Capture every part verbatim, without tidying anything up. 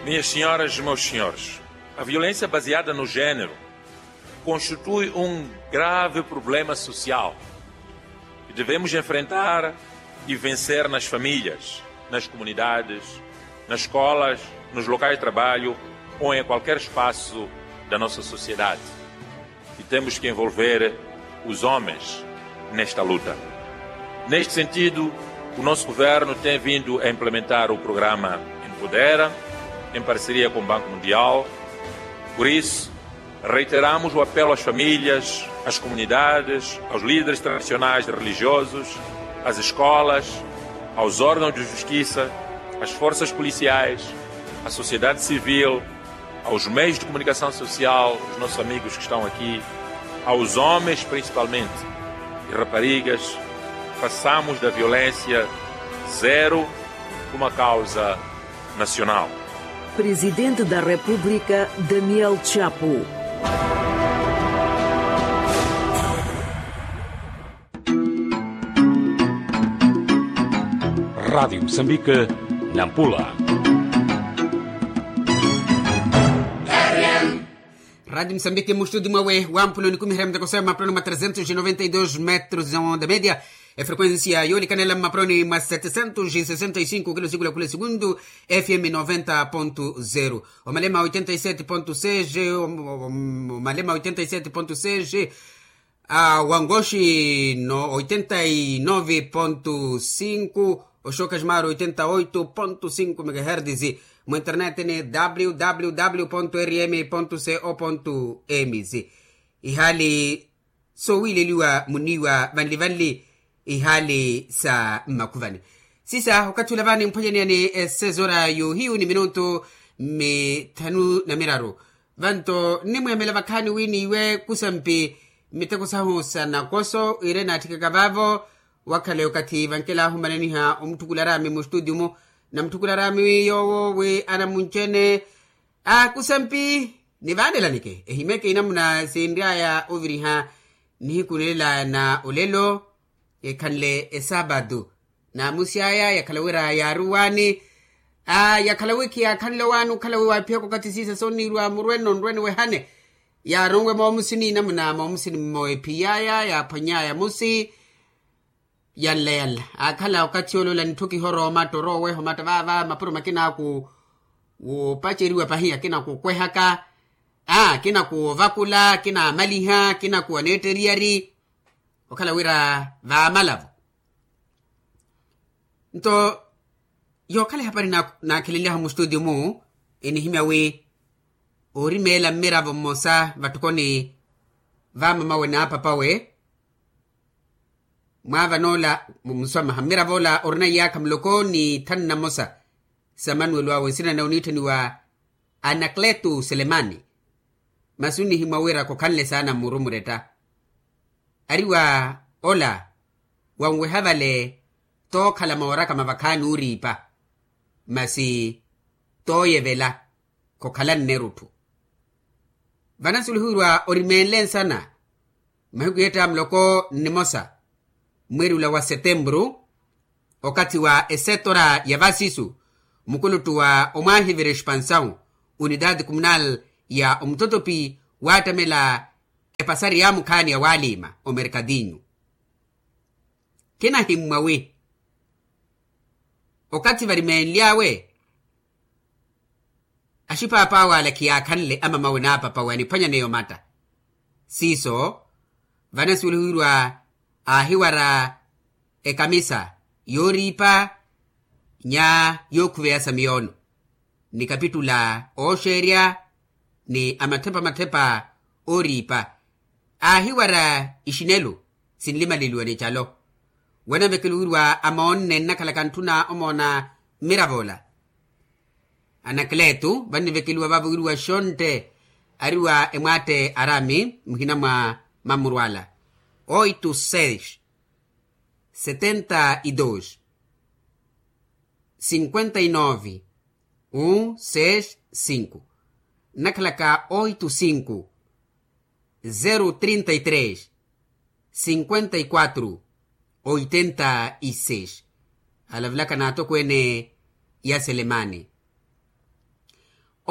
Minhas senhoras e meus senhores, a violência baseada no género constitui um grave problema social que devemos enfrentar e vencer nas famílias, nas comunidades, nas escolas, nos locais de trabalho ou em qualquer espaço da nossa sociedade. E temos que envolver os homens nesta luta. Neste sentido, o nosso governo tem vindo a implementar o programa Empodera, em parceria com o Banco Mundial. Por isso, reiteramos o apelo às famílias, às comunidades, aos líderes tradicionais e religiosos, às escolas, aos órgãos de justiça, às forças policiais, à sociedade civil, aos meios de comunicação social, os nossos amigos que estão aqui, aos homens principalmente, e raparigas, façamos da violência zero uma causa nacional. Presidente da República, Daniel Chapo. Rádio Moçambique, Nampula. Rádio Moçambique, mustudi mwawe wa mpula onikumiherya muteko sema mapuloni mwa trezentos e noventa e dos metros de onda média. Efrequência yoolikanela mmaproni mwa setecentos e sessenta e cinco kilo sikula kula segundu, F M noventa ponto zero. Omalema oitenta e sete ponto seis, omalema oitenta e sete ponto seis, a wangoxi no oitenta e nove ponto cinco, oxoka ximaro oitenta e oito ponto cinco megaherdes. Mu internet ni www ponto rm ponto co ponto ms. Ihali sowiileliwa muniiwa vanli-vanli, ihali sa mmakhuvani. Sisa okathi ula vani mphwanyaneyani esezora yohiyu ni minutu mithanu na miraru. Vanto nnimweemela vakhaani wi niiwe kusampi miteko sahu sa nakoso iire naatthikaka vaavo. Wakhale okathi vankelahu mmananiha omutthukula araami mustutiyu-mu, namutthukula araami wi yoowo wi anamuncene. Akusampi nivaanela nike ehimeke inamuna sinry'aya oviriha nihiku nilelaya na olelo. Ekhanle esapatu naamusi aya yakhala wira yaaruwaani. Yakhala wi khiyaakhanle owaani okhala wi waaphiyaka okathi siisa sooniirwa murweno nrwene wehane. Yaaronwe moomusini inamuna moomusini mmo ephiy'aya yaaphwany'aya musi. Yanla yanla aakhala okathi ole ola nitthokihoro omatta orooweha omatta vaava mapuro makina aku woopaceriwa pahi akina kukwehaka, akina kuovakula akina amaliha akina kuwaneetteriyari. Okhala wira vaamalavo nto yookhala ehapari naakheleliyahu mustutiyu-mu enihimya wi oorimeela mmiravo mmosa vatthukoni va mamawe n'apapawe. Mwaavan'ola muswamaha mmirav'ola orina iyaakha muloko ni thanu na mmosa sa manuwelo awe nsina nawe oniitthaniwa anakletu selemani. Masi onihimwa wira khokhanle saana mmuru muretta. Ari wa ola wanweha vale tookhala mooraka mavakhaani ooriipa masi tooyevela khokhala nnerutthu. Vanasulihiwirwa orimeenle nsana mmahiku yeetta muloko nnimosa mweeri ula wa setempuru okathi wa esetora ya vasisu mukuluttu wa omwaahivira expansawu unitaati kumunal ya omutotopi waattamela epasari ya mukhaani ya waaliima omerkadinyu. Khinahimmwa wi okathi varimeenly'awe axipaapawe ale khiyaakhanle amamawe n'apapawe aniphwanyaneya omatta. Siiso vanasuwelihiwirwa aahiwara ekamisa yooriipa nya yookhuveya samiyoono ni kapitula ooxeerya ni amathepa-mathepa ooriipa. Aahiwara ixinelu sinlimaleliwa ni calo. Wanavekeliwirwa amoonne nnakhalaka ntthuna omoona mmirav'ola. Anakletu vannivekeliwa vaavo wiriwa xontte ari wa emwaatte arami muhina mwa mamurwala oito seis setenta e dos cinquenta e nove um seis cinco nnakhalaka oito cinco zero trinta e três cinquenta e quatro oitenta e seis. Alavelaka n'atokweene ya selemani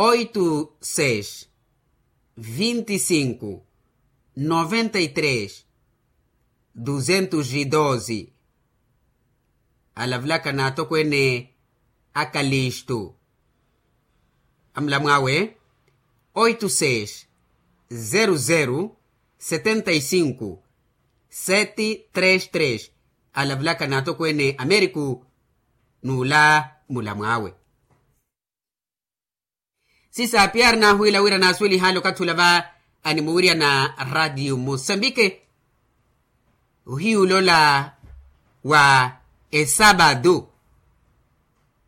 Oito seis, vinte e cinco, noventa e três, duzentos e doze. Alavulaka n'atokweene a kalistu. Amulamw'awe oito seis, zero zero, setenta e cinco, sete três três. Alavulaka n'atokweene a meriku. N'ula mulamw'awe. Sisa piari naahuwila wira naasuwelih'ale okathi ula va animuwiryana. Ratiyo musambike. Ohiyu ula ola wa esapatu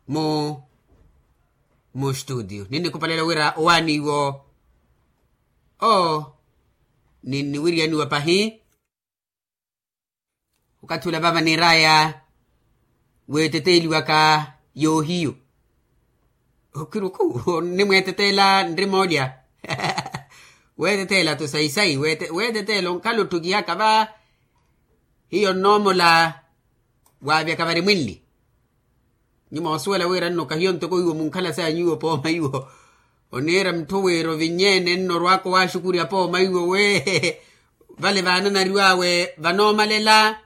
mu mustutiyo ninnikupalela wira owaani iwo. Oo ninniwiryaniwa pahi. Okathi ula vava niir'aya weeteteeliwaka yoohiyu. Okiruku onnimweeteteela nrimoolya. Weeteteela-tho sayi-sayi weeteteela onkhala ottukihaka va. Hiyo nnoomola waavyaka vari mwinli. Nyuma osuwela wira nno kahiyo ntoko iwo munkhala sanyu iwo pooma iwo. Oniira mutthu wira ovinyeene nno orwaka owaaxukurya pooma iwo we. Vale vaananariw'awe vanoomalela.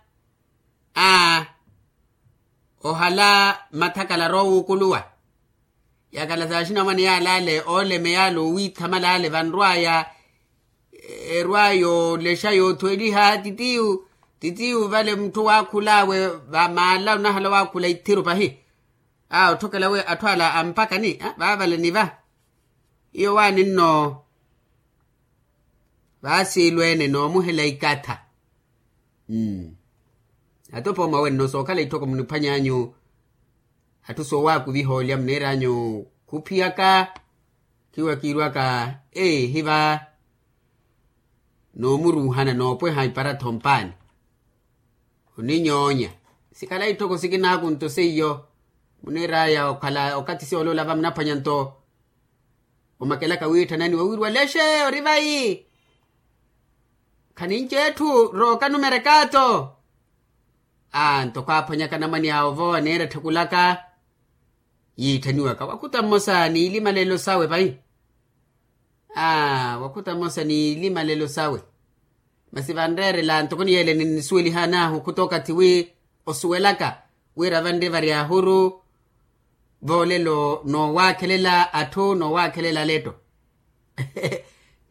Aa ohala mathakala aroowuukuluwa. Yakala saaxinamwane yaale ale ooleme yaale owiithamala ale vanrw'aya. Erw'aya olexa yoothweliha titiyu titiyu vale mutthu waakhul'awe vamaala onahala waakhula ithiru pahi. Aa otthokela we atthu ala ampakani vaavale ni va. Iyo waani nno vaasiilweene noomuhela ikatha. Atopo mwawe nno sookhala itthoko muniphwany'anyu. Atthu soowaakuviha olya muniir'anyu khuphiyaka khiwa kiirwaka. Eehi va noomuruuhana noopweha ipara-tho mpaani. Oninyoonya sikhala itthoko sikinaakunto seiyo. Muniir'aya okhala okathi siyoola olava munaphwanya nto. Omakelaka wiitthananiwa wiiriwa lexe ori vayi. Khaninci etthu rooka numerekaato. Aa ntoko aaphwanyaka namwani awo vo aniira etthukulaka. Yiitthaniwaka wakhuta mmosa n'ilimalelo sawe pahi. Aa wakhuta mmosa n'ilimalelo sawe. Masi vanreerela ntoko niyeele ninnisuwelihan'ahu okhuta okathi wi osuwelaka wira vanri vari ahuru. Voolelo noowaakhelela atthu noowaakhelela aletto.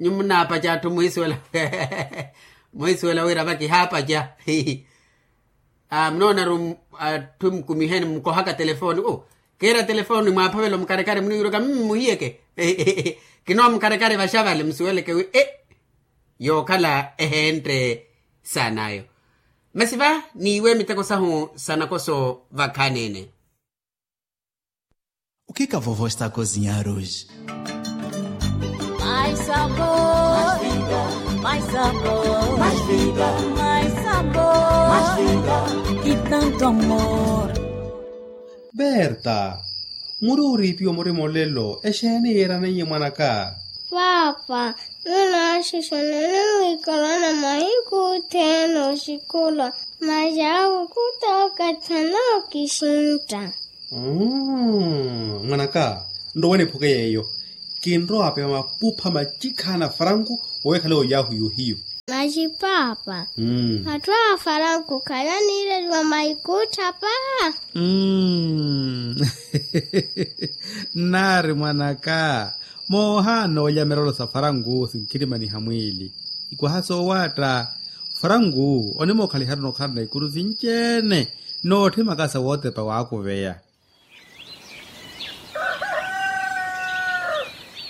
Nyuwo munaapaca atthu muhisuwela muhisuwela wira vakihaapaca. Munoonaru atthu mukumiheni mukohaka telefoni kiira telefoni mwaaphavela omukarekare muniwiirwaka mmm muhiyeke. Kinoomukarekare vaxavale musuweleke wi e yookhala eheentte saan'ayo. Masi va niiwe miteko sahu sa nakoso vakhaani-ene. O que que a vovó está a cozinhar hoje? Mais sabor, mais sabor, mais vida, mais sabor, mais vida, e tanto amor. Berta, muri oriipiwa murima olelo exeeni yeeraneiye mwanaka? Paapa, nunaaxixana nimwiikalana mahiku othene oxikulwa. Masi awo khutookathana okixintta. Mwanaka, nrowe niphuke yeeyo. Kinrowa apewa mapupha macikhana faranku oweekhale oyahu yohiyu. Masi paapa, atthu a faranku khale aniireliwa maikuttha paa. Nnaari mwanaka, moohaana olya mirolo sa faranku sinkhirimaniha mwiili. Ikwaha soowaatta faranku onimookhaliharu nookhalana ikuru sinci-ene nootthimaka sa wootepa waakuveya.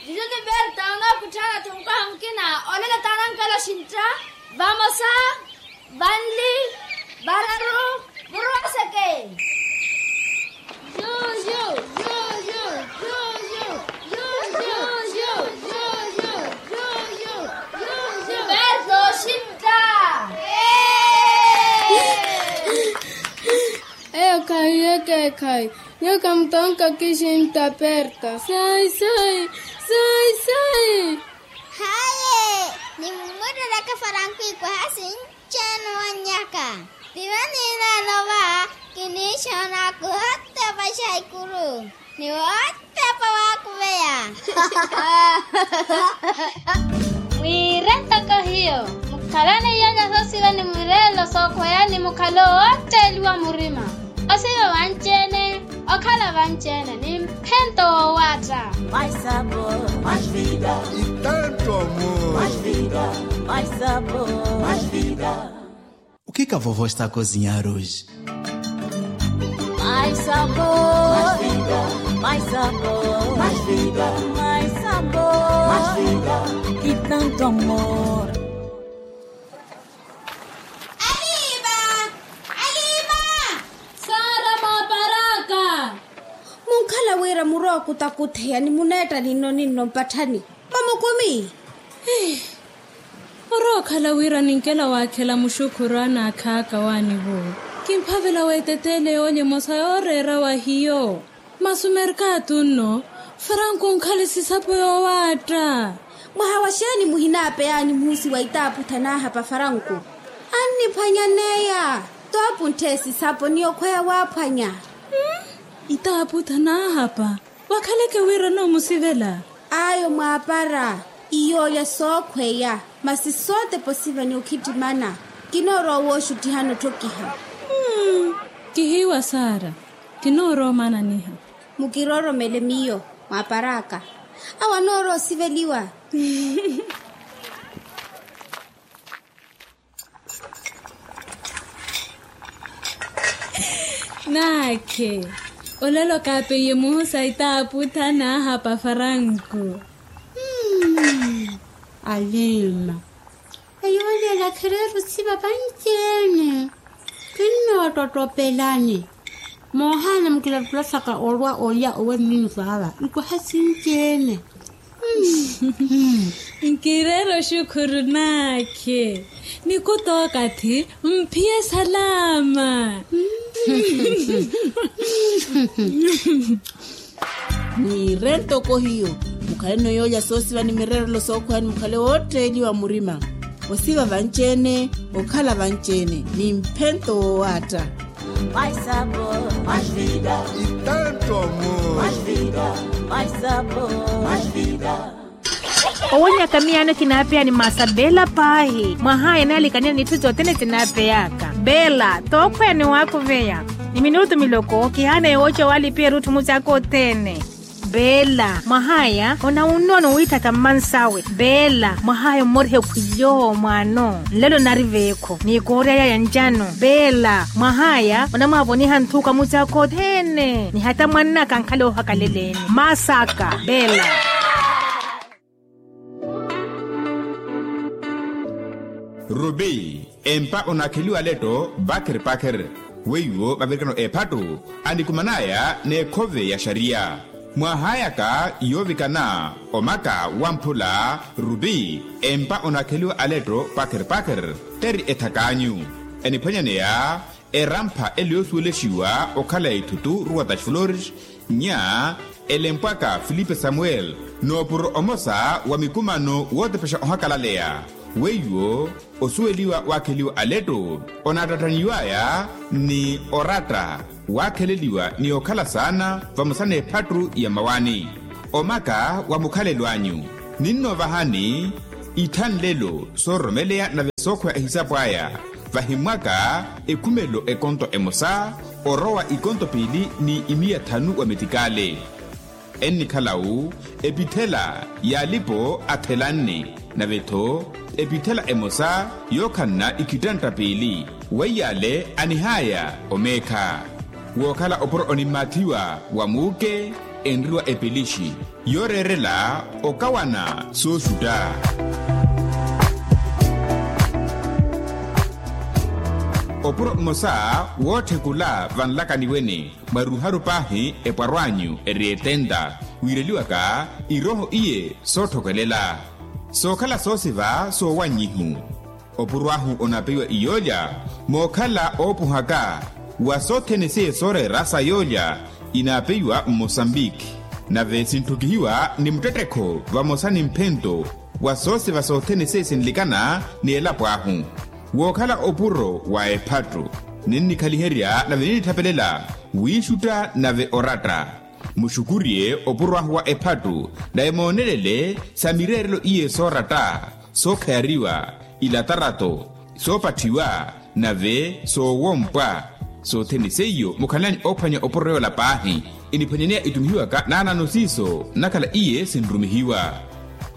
Juju ni berta onookutthaana-tho mukwaha mukina. Olelo taanankala oxintta. Vamosa, vanli, vararu, muruwaseke. Berto oxintta. Eyo khahi yeke khahi. Nyuwo khamutonka oxintta berta. Sai sai. Sai sai. Haye, nimumwirereke faranku ikwaha sinci-ene owannyaka. Piva niineene ova kiniixoona kuhotepa xaikuru ni wotepa wa Mwiire ntoko hiyo, mukhalane iyaja soosiva ni mwireelo sookhweya ni mukhalo wootteeliwa murima. Osiva vanci-ene, okhala vanci-ene ni mphento woowaatta. Mai sapo, mai vida. Itanto amor. Mai vida, mai sapo, mai vida. O que que a vovó está a cozinhar hoje? Mai sapo, mai vida, mai sapo, mai vida, mai sapo, mai vida. E tanto amor. Alima! Alima! Sara maparaka. Munkhala wira murwa okutakutheya ni muneetta ninno ninno mpatthani. Mamukumi. Orookhala wira ninkela waakhela muxukhuru anaakhaaka waanivo. Kimphavela weeteteele yoolya emosa yooreera wa hiyo. Masi omerkatu nno faranku onkhale sisapo yoowaatta. Mwaha wa xeeni muhinaapeyaani muhusi wa itaaputha naahapa faranku? Anniphwanyaneya. Toopunthe sisapo ni okhweya waaphwanya. Itaaputha naahapa. Wakhaleke wira onoomusivela. Ayo mwaapara. Iyoolya sookhweya. Masi sootepa osiva ni okhittimana. Kinoorowa wooxuttihana otthokiha. Kihiiwa sara. Kinoorowa omananiha. Mukirooromele miyo mwaapar'aka. Awo anoorowa osiveliwa. Naakhe. Olelo kaapeiye muhusa itaaputha naahapa faranku. Alima. Eyo olelo akhireera osiva vanci-ene. Kinnoottottopelani. Moohaana mukilattula saka orwa olya owe nninusu ava nkoha sinci-ene. Nkireera oxukhuru naakhe. Nikuta okathi mphiye salaama. Mwiire ntoko hiyo, mukhaleno yoolya soosiva ni mireerelo sookhweya ni mukhale wootteeliwa murima. Osiva vanci-ene, okhala vanci-ene ni mphento woowaatta. Mai sapo, mai vida. Itanto amor. Mai vida, mai sapo, mai vida. Owonyaka miyaano kinaapeya ni masa beela paahi. Mwahaya naalikaniya n'itthu sothene sinaapeyaka beela. Tookhweya ni waakuveya ni minutu miloko kihaana yooca waalipiya erutthu mucaaka othene. Beela mwahaya onawunnono wiithaka mmansawe. Beela mwahaya ommorihe khwiyo mwaano nlelo nari veekho ni kooryaya ya ncano. Beela mwahaya onamwaavoniha nthuka mucaaka othene ni hata mwannaka ankhala oohakaleleni masaka. Beela. Rubi empa onaakheliwa aletto pakhir pakhir. Weiwo vavirikano ephattu anikuman'aya n'ekhove ya xariya. Mwaahayaka yoovikana omaka wamphula rubi empa onaakheliwa aletto pakhir pakhir. Teri ethak'anyu eniphwanyaneya erampha ele yoosuwelexiwa okhala ya ithutu ruwa taxflores nya elempwaka filipe samuel. Noopuro omosa wa mikumano wootepexa ohakalaleya weiwo osuweliwa waakheliwa aletto onaattattaniw'aya ni oratta waakheleliwa ni okhala saana vamosa n'ephattu ya mmawaani. Omaka wa mukhalelo anyu ninnoovahani ittha nlelo soororomeleya nave sookhweya ehisapo aya. Vahimmwaka ekhumelo ekonto emosa orowa ikonto piili ni imiya thanu wa metikale. Ennikhala-u epithela y'alipo athelanne nave-tho epithela emosa yookhanna ikhittantta piili. Weiy'ale anihaya omeekha wookhala opuro onimmaathiwa wa muuke enriwa epelixi yooreerela okawana sooxutta. Opuro mmosa wootthekula vanlakani wene mwaruharu paahi epwarw'anyu eri etenta wiireliwaka irooho iye sootthokelela sookhala soosiva soowannyihu. Opuro ahu onaapeiwa iyoolya mookhala oopuhaka wa sothene seiye sooreera sa yoolya inaapeiwa mmosambiki nave sintthukihiwa ni muttettekho vamosa ni mphento wa soosiva sothene seiye sinlikana ni elapo ahu. Wookhala opuro wa ephattu ninnikhaliherya nave ninnithapelela wiixutta nave oratta. Muxukurye opuro ahu wa ephattu, nave moonelele sa mireerelo iye sooratta, sookhayariwa, ilatarato, soopatthiwa, nave soowompwa. Sothene seiyo mukhalanyu oophwanya opuro yoola paahi. Iniphwanyaneya itumihiwaka naanano siiso nnakhala iye sinrumihiwa.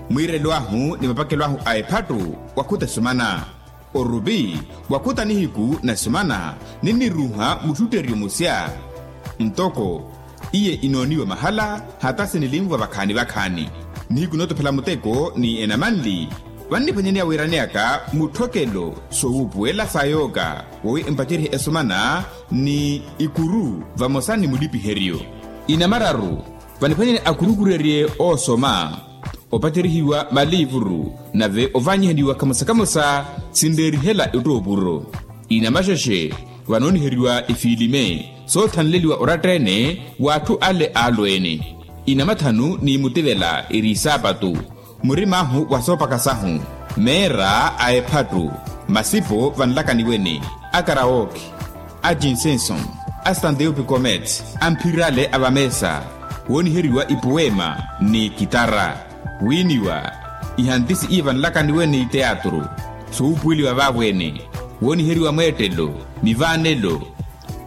Mwiirelo ahu ni mapakelo ahu a ephattu wakhuta esumana. Orupi wakhuta nihiku na esumana, ninniruuha muxutteryo musya. Ntoko iye inooniwa mahala hata sinilinvwa vakhaani vakhaani. Nihiku nootophela muteko ni enamanli, vanniphwanyaneya wiiraneyaka mutthokelo soowuupuwela sa yooka, woowi empacerye esumana ni ikuru vamosa ni mulipiheryo. Inamararu vaniphwanyane akurukurerye oosoma, opaterihiwa maliivuru, nave ovanyiheliwa kamosa kamosa sinreerihela ettoopuro. Inamaxexe vanooniheriwa ifiilime soothanleliwa oratta-ene w'atthu ale aalweene. Inamathanu ni mutivela eri isaapatu, murim'ahu wa soopaka sahu, meera a ephattu, masipo vanlakaniwene, a karawoke, a jinsenson, a standeupikomet, a mphirale a vameesa, wooniheriwa ipuweema ni kitara, wiiniwa, ihantisi iye vanlakaniwene ni teatru, sowuupuweliwa vaavo-ene, wooniheriwa mweettelo, mivaanelo,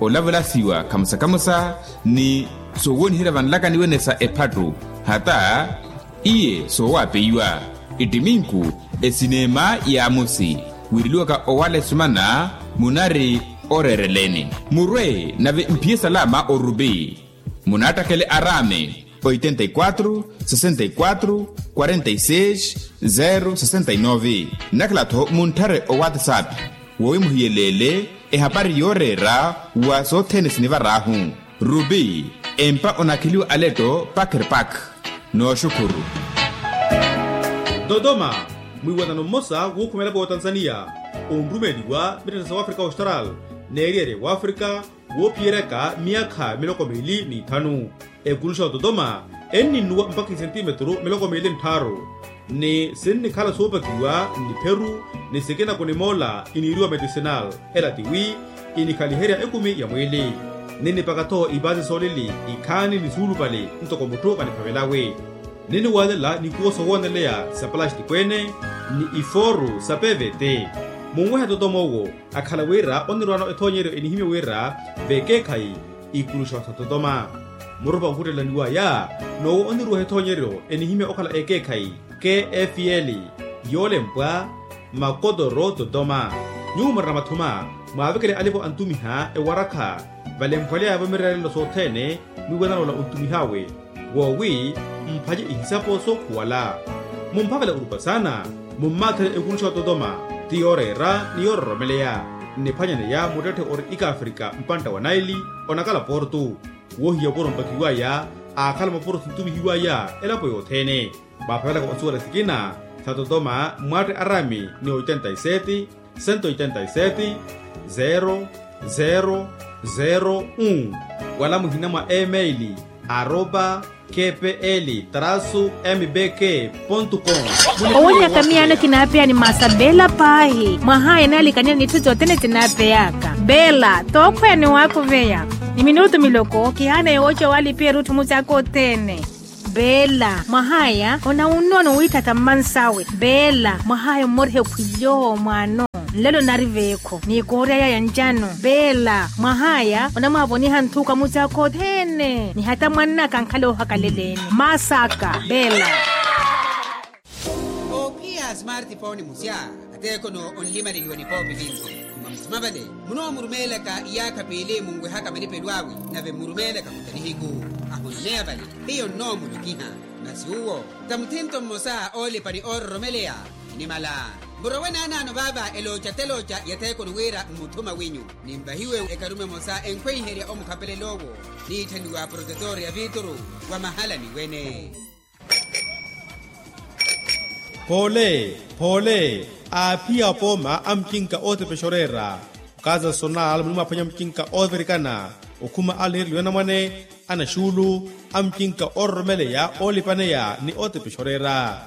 olavalasiwa khamosa khamosa ni sowooniherya vanlakaniwene sa ephattu, hata iye soowaapeyiwa. Ettiminku, esineema y'amosi, wiireliwaka owala esumana munari oreereleni. Murwe nave mphiye salama orupi, munaattakele araame oitenta e quatro sessenta e quatro quarenta e seis zero sessenta e nove. Nnakhala-tho muntthare owatsapp, woowi muhiyeleele ehapari yooreera wa sothene sinivar'ahu. Rupi, empa onakheliwa aletto pakerpak. Nooxukhuru. Dodoma, mwiiwanano mmosa wuukhuma elapo y'otanzaniya, onrumeliwa mitthana sa wafrika austral, n'eriyari ya wafrika, woophiyeryaka myaakha miloko miili n'ithanu. Ekuluxa ototoma enninnuwa mpakha isentimetru miloko miili ntthaaru, ni sinnikhala soopakiwa n'ipheru, ni sikina kunimoola iniiriwa medicinal. Ela tiwi inikhaliherya ekumi ya mwiili. Ninnipaka-tho ipaasi soolili, ikhaani ni suulupale ntoko mutthu vaniphavelawe. Ninniwaalela nikuwo sowooneleya sa palastiko-ene, ni ifooru sa pvt. Munwehe ototoma owo, akhala wira onirwaano ethoonyeryo enihimye wira vekeekhayi ikuluxa sa ototoma. Murupa ohuttela niwaya, n'owo oniruuha ethoonyeryo enihimye okhala ekeekhayi, kfl, yoolempwa makotoro ototoma. Nyuwo murina mathuma, mwaavekele alipo antumiha ewarakha, valemphwaleya-vo mireerelo sothene, mwiiwanano ola ontumihawe, woowi mphanye ihisapo sookhuwala. Mumphavela orupa saana, mummaatherye ekuluxa ototoma, ti yooreera ni yoororomeleya. Nniphwanyaneya muttetthe ori ikafrika mpantta wa naili, onakala portu. Woohiya opuro mpakiwaya, aakhala mapuro sintumihiwaya elapo yothene. Mwaaphavelaka osuwela sikina sa totoma, mwaatte araami ni oitenta e seti, sento oitenta e seti, zero zero zero un, wala muhina mwa email, arroba kpl trasu mbk pontu com. Owonyaka miyaano kinaapeya ni maasa beela paahi, mwahaya naalikaniwa n'itthu sothene sinaapeyaka. Beela tookhweya ni waakuveya, ni minutu miloko kihaana yooca walipiya erutthu musaaka othene. Beela, mwahaya onawunnono wiithatha mmansawe. Beela, mwahaya ommoriha ekhwily'owo mwaano, nlelo nari veekho ni koorya yaya ncano. Beela, mwahaya onamwaavoniha nthuka musaaka othene ni hata mwannaka ankhala oohakaleleni. Masaaka beela. Oophiya smartphone musya, ateekono onlimaleliwa nipoopi vinci. Mwa musima vale, munoomurumeelaka iyaakha piili munwehaka malipelo awe, nave mmurumeelaka khuta nihiku. Ahunoneya vale, hiyo nnoomulukiha. Masi uwo ta muthinto mmosa oolipa ni oororomeleya. Nimala, murowe naanaano vaava elooca telooca ya theekoni wira mmuthuma winyu, ninvahiwe ekarume emosa enkhweiherya omukhapelel'owo, niitthaniwa protetor ya viituru wa mahalani wene. Poole, poole, aaphiya apooma a mucinka ootepexa oreera, okaza sonal munimwaaphwanya mucinka oovirikana, okhuma a lihereliwa anamwane, anaxuulu, a mucinka oororomeleya oolipaneya ni ootepexa oreera.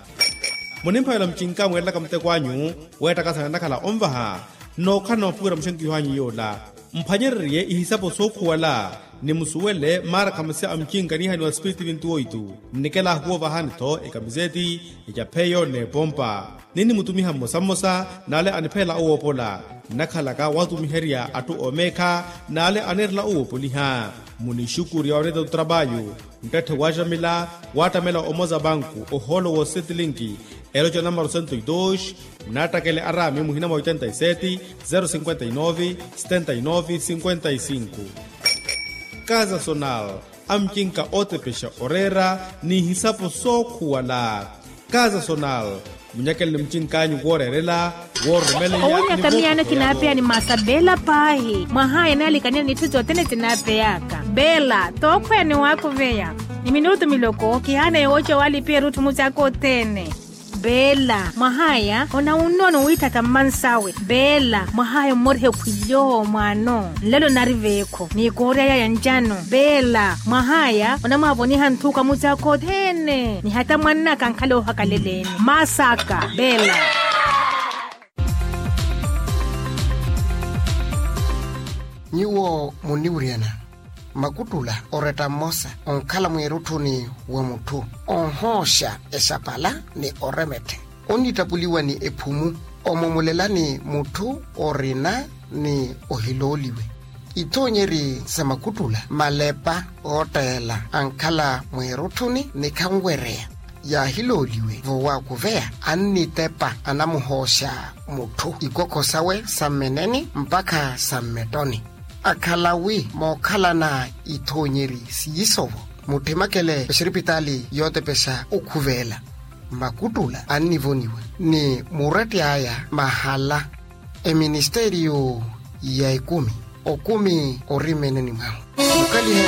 Munimphavela mucinka mweerelaka muteko anyu, weettakasana nakhala onvaha, nookhala noopuwela muxenkiho anyu yoola. Mphwanyererye ihisapo sookhuwala, Nimusuwele maara khamasi a mucinkanihani wa spiriti vinti oitu. Nnikela ahuwovahani-tho ekamiseti, ecapheyo n'epompa. Ninnimutumiha mmosa mmosa n'ale anipheela owoopola. Nnakhalaka watumiherya atthu oomeekha n'ale anirela owoopoliha. Munixukurya onetta tutrapayu, nttatthe waxamila wattamela omoza banku ohoolo wosetilinki. Eloco namaro cento e dos. Nattakele araami muhina mwa oitenta e seti, zero cinquenta e nove, setenta e nove cinquenta e cinco. Kaza sonal, amucinka ootepexa oreera n'ihisapo sookhuwala. Kaza sonal, munyakeleni mucinkanyu wooreerela, woorumeleya. Owunyaka miyaana kinaapeya ni maasa beela paahi mwahaya naalikanile n'itthu sothene sinaapeyaka. Beela tookhweya ni waakuveya ni minutu miloko kihaana yooca waalipiya erutthu mucaaka othene. Beela mwahaya onawunnono wiitthata mmansawe. Beela mwahaya ommoriha ekhwilyo mwaano nlelo nari veekho ni koorya yaya ncano. Beela mwahaya onamwaavoniha nthuka mucaaka othene ni hata mwannaka ankhala oohakaleleeni. Maasaka beela. Nyuwo munniwiryana makuttula oretta mmosa onkhala mweerutthuni wa mutthu onhooxa exapala ni oremetthe onnittapuliwa ni ephumu omomolelani mutthu orina ni ohilooliwe. Ithoonyeri sa makuttula malepa ootteela ankhala mweerutthuni ni khanwereya yaahilooliwe vowaakuveya annitepa anamuhooxa mutthu ikokho sawe sa mmeneni mpakha sa mmettoni. Akhala wi mookhalana ithoonyeri siiso-vo muttimakele exiripitaali yootepexa okhuveela. Makuttula annivoniwa ni muretti aya mahala eministeriyo ya ekumi okumi ori mmeneni mwahu. Mukalihe